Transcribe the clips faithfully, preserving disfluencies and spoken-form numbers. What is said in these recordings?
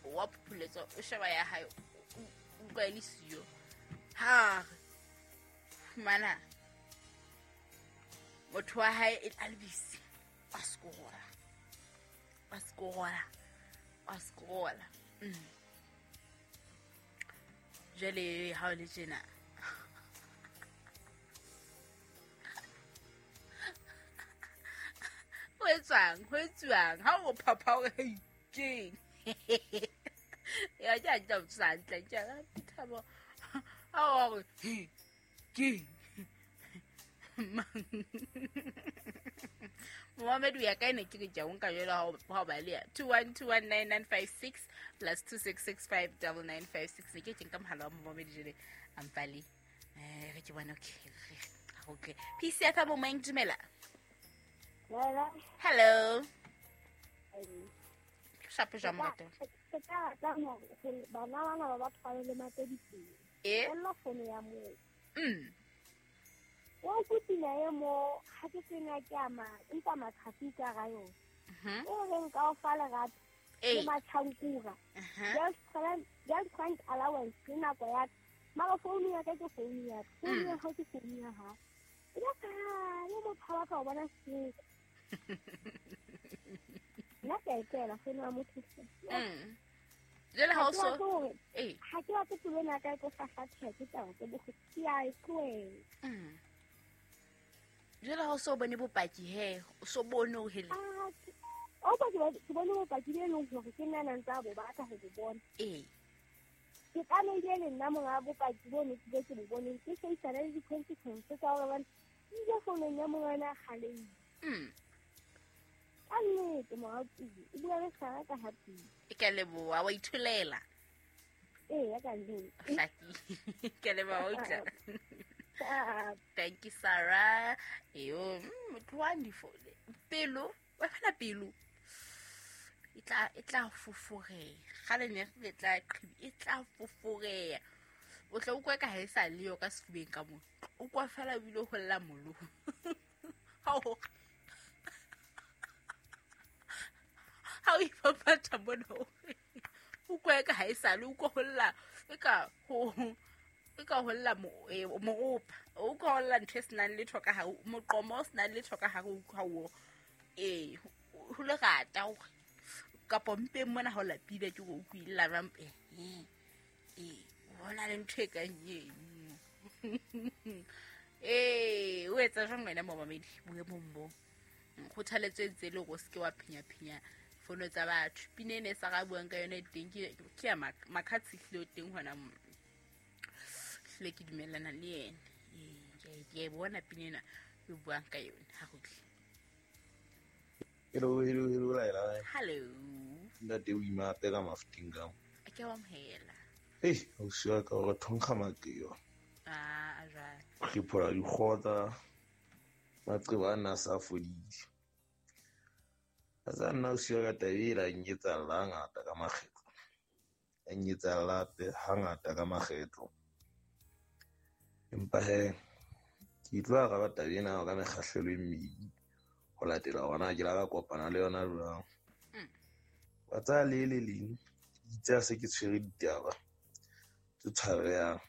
Wa phopholetsa o sheba ya hae, o utlwa e le siyo. Ha re fumana motho wa hae e a le busy, wa scrolla, wa scrolla, wa scrolla. Mm. Jwale ha o le tjena, ho etswang, ho etsuwang ha o phapha hore keng? Ya ke a tla tsa hantle, ke a thabo. Ha o re keng? Momamedi ya ka ene ke re ke a o nka jwalo ha o ha o baleha. two one two one nine nine five six plus two six six five double nine five six. Ne ke ke nka mohala wa momamedi jwale a mpale. Eh, re ke bona, okay, okay. P C F M moeng, dumela. Hello. Hello. Shapo jwang morata? Ke ka rata hore bana bana ba ba tshware le mateditseng. Eh? Ella fono ya moo. Mm. Wa kutina e mo ha ke tsena ke ama empa matsatsi ka ga yona. Mhm. O reng ka o fa lerato Eh. le matjhankura. Mhm. Girlfriend, girlfriend allowance ke nako ya ka. Mara founu ya ka ke founu ya ka. Founu Mm. ya hao ke founu ya hao. E ka kgale motho ha batla ho bona seko. Nna ke a e tlohela founu ya motho. Mm. Jwale ha o Ha ke so batle hore Eh. ha ke batle pelo ena ya ka e tlo hlahlatjha ke taba tse bohloko. Ke a e tlohela. Mm. Jwale ha o so bone bopaki he, o so bone hore hele. Ah, ke-, o ba ke ba-, ke bone bopaki bo e leng hore ke nna na ntse a bo batla ho bo bona. Eh. Ke tlamehile le nna monga bopaki bo ne ke be ke bo boneng, ke faisana le di-consequences tsa hore bane ke ile founong ya monga ena a kgalehile. Mm. Ka nnete, moratuwa, e bua le Sarah ka ha pele. E ka leboha, wa itholela. Ee, ya ka nnete. Hlakile. Ke a leboha, wa utlwa. Ah. Thank you, Sarah. Eyo, mm, motho wa difo-, pelo, wa fela pelo. E tla, e tla foforeha. Kgale ne re tla qhibi, e tla foforeha. O tla utlwa ka ha e sa le yo ka sefubeng ka moo. O kwa fela ebile ho lla molomo. Ha o ha o ipapatha mona, o utlwa ka ha e sa le, o utlwa ho lla, e ka ho, e ka ho lla mo-, eh, moropa. O utlwa ho lla ntho e senang letho ka hare, moqomo o senang letho ka hare, o utlwa ho, eh, ho lerata hore, kapa mpeng mona ha o lapile ke hore o utlwe lla jwang, eh, eh, eh, ho na le ntho e kang eno. Eh, o etsa jwang wena momamedi boemong bo? Kgothaletso e ntse e le hore o se ke wa phenya-phenya fono tsa batho. Pina ena e sa ra buang ka yona e teng, ke, ke ya Mak-, Makhathi ehlile o teng hona mo. Ehlile ke dumellana le yena. Ee, ke a e, ke a e bona pina ena e buang ka yona. Ha re utlwe. Hello, hello, hello, Laila. Hello. Ntate o ima hape ka mafuteng ka mo. A ke wa amohela. Hei, ausi wa ka o re thonkga makeo. Ah, a jwale. Re phola dikgotsa, maqeba a na a sa fodile. A tsa nna ausi wa ka taba e la nketsahalla hangata ka makgetlo. Ya nketsahalla hape hangata ka makgetlo. Empa he, ke tlo araba taba ena ka mekgahlelo e mmedi ho latela hore na ke la ka kopana le yona jwang. Mm. Wa tsaya le le leng, itse ha se ke tshwere ditaba tse tshwarehang.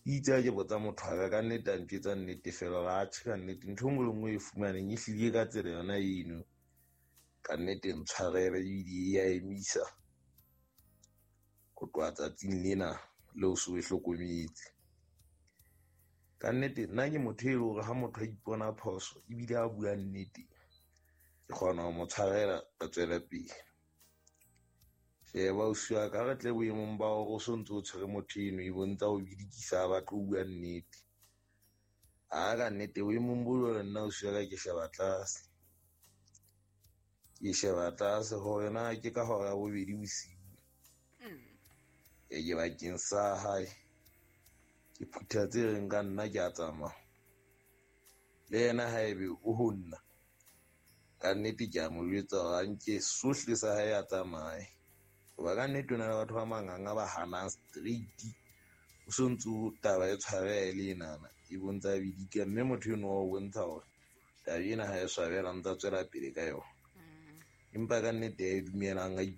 Itse ha ke botsa motho wa ka, ka nnete a ntjwetsa nnete fela hore atjhe ka nnete ntho e nngwe le nngwe e fumaneng e hlile ka tsela yona eno. Ka nnete ntshwarele ebile e a emisa ho tloha tsatsing lena leo so e hlokometse. Ka nnete nna ke motho e leng hore ha motho a ipona phoso ebile a bua nnete, ke kgona ho mo tshwarela ka tswela pele. Sheba ausi wa ka, re tle boemong ba hore o so ntso o tshwere motho eno e bontsha ho bidikisa a batle ho bua nnete. Ha ka nnete boemong bo jwalo nna ausi wa ka ke sheba tlase. Ke sheba tlase hore na ke ka hora ya bobedi bosiu. Mm. E ke bakeng sa hae. Ke phutha tse reng ka nna ke a tsamaya. Le yena haebe o ho nna, ka nnete ke a mo jwetsa hore a nke sohle sa hae a tsamaye. Hoba ka nnete ho na le batho ba manganga ba hanang straight. O so ntso taba e tshwareha e le enana, e bontsha bidika, mme motho eno wa o bontsha hore taba ena ha e swabela, ntsa tswela pele ka yona. Mm. Empa ka nnete ya e dumelang a ipo